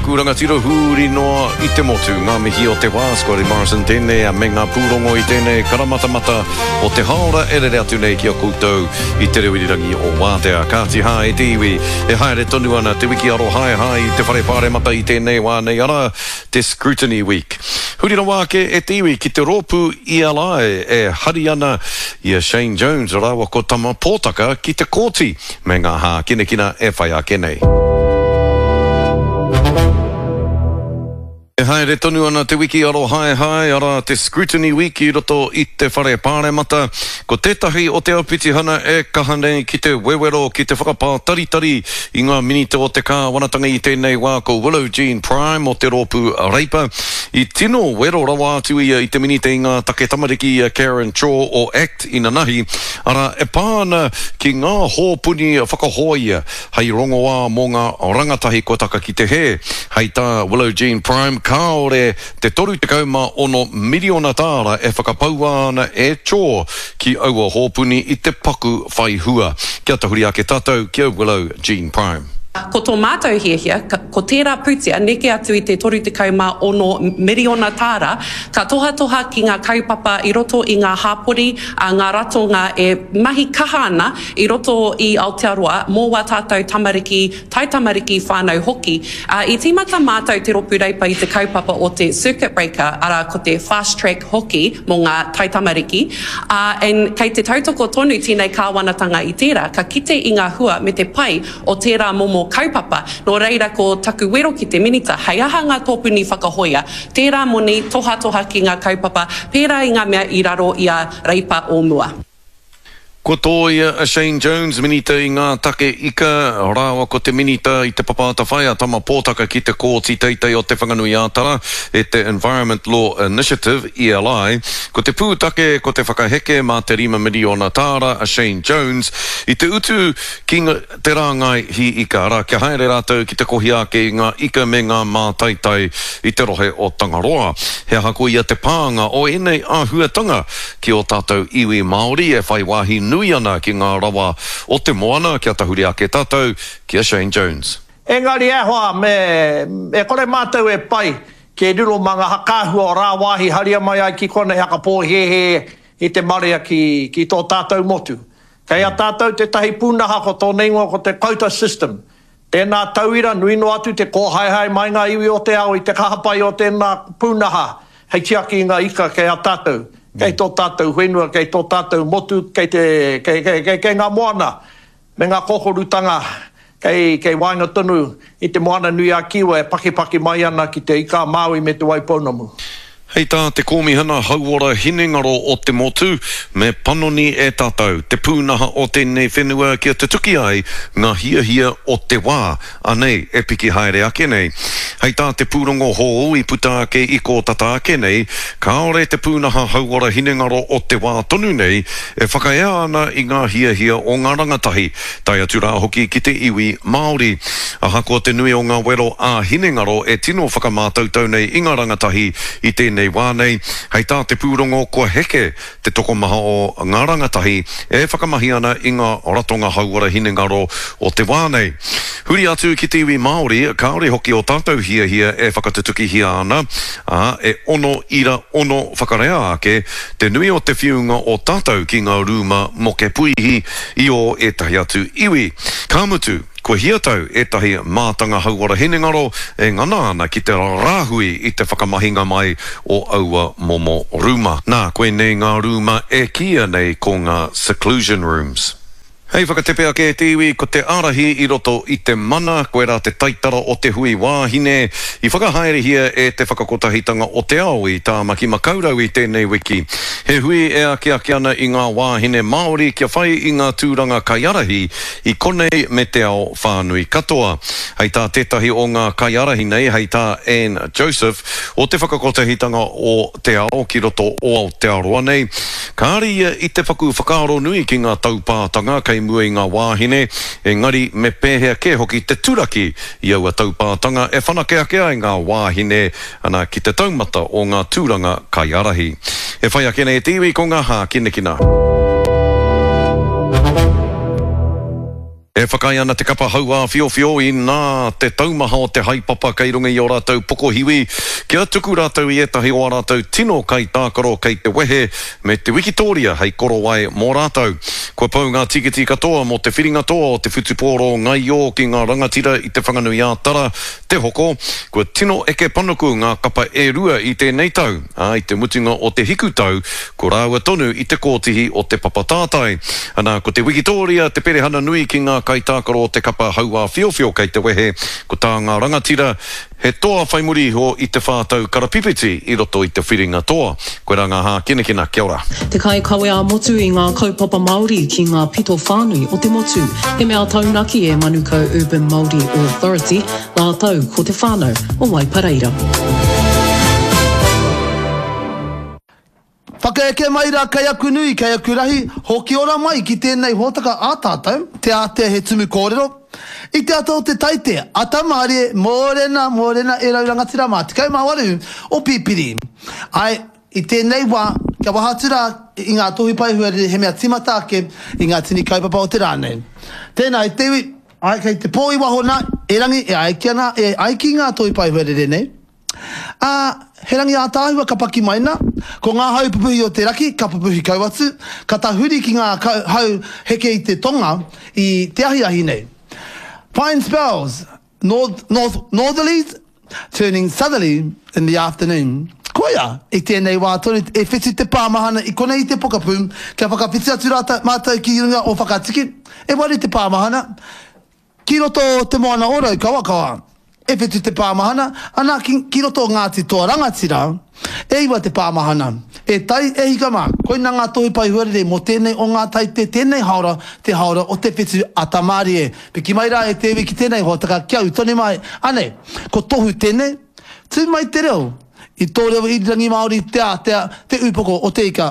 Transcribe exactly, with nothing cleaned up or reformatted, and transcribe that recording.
aku rangatira huri noa i te motu. Ngā mihi o te wā, Scotty Morrison tēnei a me ngā pūrongo i tēnei karamatamata o te haora e rere atu nei ki a koutou i te reo irirangi o Wātea. Kāti hā e te iwi, e haere tonu ana te wiki arohaehae i te whare pāremata i tēnei wā nei, arā, te Scrutiny Week. Huri rawa ake e te iwi ki te rōpū E L I e hari ana i a Shane Jones rāua ko Tama Pōtaka ki te kōti me ngā hākinakina e whai ake nei. E haere tonu ana te wiki arohaehae, arā te Scrutiny Week i roto i te whare pāremata. Ko tētahi o te aupitihana e kaha nei ki te wewero, ki te whakapātaritari i ngā minita o te kāwanatanga i tēnei wā ko Willow Jean Prime o te rōpū Reipa. I tino wero rawa atu ia i te minita i ngā take tamariki i a Karen Chor o ACT inanahi, arā e pā ana ki ngā hōpuni whakahoia hei rongoā mō ngā rangatahi kua taka ki te hē. Hei tā Willow Jean Prime, kāore te toru tekau mā ono miriona tāra e whakapaua ana e Chor ki aua hōpuni i te paku whai hua. Kia tahuri ake tātou ki a Willow Jean Prime. Ko tō mātou hiahia, ko tērā pūtea neke atu i te toru tekau mā ono miriona tāra, ka tohatoha ki ngā kaupapa i roto i ngā hāpori, a ngā ratonga e mahi kaha ana i roto i Aotearoa mō wā tātou tamariki, taitamariki whānau hoki. Uh, i tīmata mātou te rōpū Reipa i te kaupapa o te circuit breaker, arā ko te fast track hoki mō ngā taitamariki, uh, and kei te tautoko tonu tēnei kāwanatanga i tērā, ka kite i ngā hua me te pai o tērā momo kaupapa. Nō reira ko taku wero ki te minita, hei aha ngā tōpuni whakahoia, tērā moni tohatoha ki ngā kaupapa, pērā i ngā mea i raro i a Reipa o mua. Ko tōia a Shane Jones, minita i ngā take ika, rāua ko te minita i te Papa Atawhai a Tama Pōtaka ki te kōti teitei o Te Whanganui-ā-Tara e te Environment Law Initiative, E L I. Ko te pūtake ko te whakaheke mā te rima miriona tāra a Shane Jones i te utu ki te rāngai hi ika, arā kia haere rātou ki te kohi ake i ngā ika me ngā mātaitai i te rohe o Tangaroa. He aha ko ia te pānga o ēnei āhuatanga ki o tātou iwi Māori e whai wāhi nui ana ki ngā rawa o te moana, kia tahuri ake tātou ki a Shane Jones. Engari e hoa, me, e kore mātou e pai ki e riro mā ngā hakāhua o rāwāhi haria mai ai ki konei hakapōhehe i te marea ki, ki tō tātou motu. Kei a tātou tētahi pūnaha ko tōna ingoa ko te quota system. Tēnā tauira nui noa atu te kōhaehae mai ngā iwi o te ao i te kahapai o tēnā pūnaha hei tiaki i ngā ika kei a tātou. Kei tō tātou whenua, kei tō tātou motu, kei, te, kei, kei, kei, kei ngā moana me ngā kōkorutanga kei, kei waenga tonu i te moana nui a Kiwa e pakipaki mai ana ki te ika Māui me te Waipounamu. Hei tā te kōmihana hauora hinengaro o te motu, me panoni e tātou te pūnaha o tēnei whenua kia tutuki ai ngā hiahia o te wā, anei e piki haere ake nei. Hei tā te pūrongo hou i puta ake i kōtata ake nei, kāore te pūnaha hauora hinengaro o te wā tonu nei e whakaea ana i ngā hiahia o ngā rangatahi, tae atu rā hoki ki te iwi Māori. Ahakoa te nui o ngā wero ā hinengaro e tino whakamātautau nei i ngā rangatahi i tēnei nei wā nei, hei tā te pūrongo kua heke te tokomaha o ngā rangatahi e whakamahi ana i ngā ratonga hauora hinengaro o te wā nei. Huri atu ki te iwi Māori, kāore hoki o tātou hiahia e whakatutukihia ana, ā, e ono ira ono whakarea ake te nui o te whiunga o tātou ki ngā rūma moke puihi i o ētahi atu iwi. Ka mutu, kua hiatau ētahi mātanga hauora hinengaro e ngana ana ki te rāhui i te whakamahinga mai o aua momo rūma. Nā, koinei ngā rūma e kīia nei ko ngā seclusion rooms. Hei whakatepe ake e te iwi, ko te ārahi i roto i te mana, koe rā te taitara o te hui wāhine, i whakahaerehia e te whakakotahitanga o te ao i Tāmaki Makaurau i tēnei wiki. He hui e ake ake ana i ngā wāhine Māori kia whai i ngā tūranga kaiarahi i konei me te ao whānui katoa. Hei tā tētahi o ngā kaiarahi nei, hei tā Anne Joseph, o te whakakotahitanga o te ao ki roto o Aotearoa nei, kāre ia i te paku whakaaro nui ki ngā taupātanga kei mua i ngā wāhine, engari me pēhea kē hoki te turaki i aua taupātanga e whanake ake ai ngā wāhine ana ki te taumata o ngā tūranga kaiarahi. E whai ake nei te iwi ko ngā hākinakina. E whakaae ana te kapa hauāwhiowhio inā te taumaha o te haepapa kei runga i ō rātou pokohiwi kia tuku rātou i ētahi o ā rātou tino kaitākaro kei te wehe me te wikitōria hei korowai mō rātou. Kua pau ngā tīkiti katoa mō te whiringa toa o te whutupōro ngaio ki ngā rangatira i Te Whanganui-ā-Tara te hoko. Kua tino eke panuku ngā kapa e rua i tēnei tau, ā, i te mutunga o te hikutau ko rāua tonu i te kōtihi o te papa tātai. Ana, ko te wikitōria te perehana nui ki ngā kaitākaro o te kapa hauāwhiowhio kei te wehe, ko tā ngā rangatira, he toa whai muri iho i te whā tau karapipiti i roto i te whiringa toa. Koirā ngā hākinakina, kia ora. Te kaikawe ā-motu i ngā kaupapa Māori ki ngā pito whānui o te motu. He mea taunaki e Manukau Urban Māori Authority rātou ko te whānau o Waipareira. Whakaeke mai rā kei aku nui, kei aku rahi, hoki ora mai ki tēnei hōtaka ā tātou, Te Ātea He Tumu Kōrero. I te ata o te taite, ata mārie, mōrena, mōrena e rau rangatira mā, tekau mā waru o Pipiri. Āe, i tēnei wā, kia waha atu rā i ngā tohu pae huarere he mea tīmata ake i ngā tini kaupapa o te rā nei. Tēnā e te iwi, āe kei te pō i waho nā, erangi e ai ki ana, e ai ki ngā tohu pae huarere nei, Ā, he rangi ātaahua ka paki mai nā, ko ngā hau pupuhi o te raki ka pupuhi kau atu, ka tahuri ki ngā hau heke i te tonga i te ahiahi nei. Fine spells, north, north, northerlies turning southerly in the afternoon. Koia, i tēnei wā tonu e whitu te pāmahana i konei i te pokapū, kia whakawhiti atu rā mātou ki runga o Whakatiki, e waru te pāmahana, ki roto o Te Moana o Raukawakawa. E whitu te pāmahana, ana ki, ki roto o Ngāti Toa Rangatira, e iwa te pāmahana. E tai, e hika mā, koina ngā tohu pai huarere mō tēnei o ngā taite, tēnei haora, te haora o te whetu ata mārie. Piki mai rā e te iwi ki tēnei hōtaka kia ū tonu mai. Anei, ko Tohu tēnei, tū mai te reo, i tō reo irirangi Māori, te ātea, te ūpoko o te ika.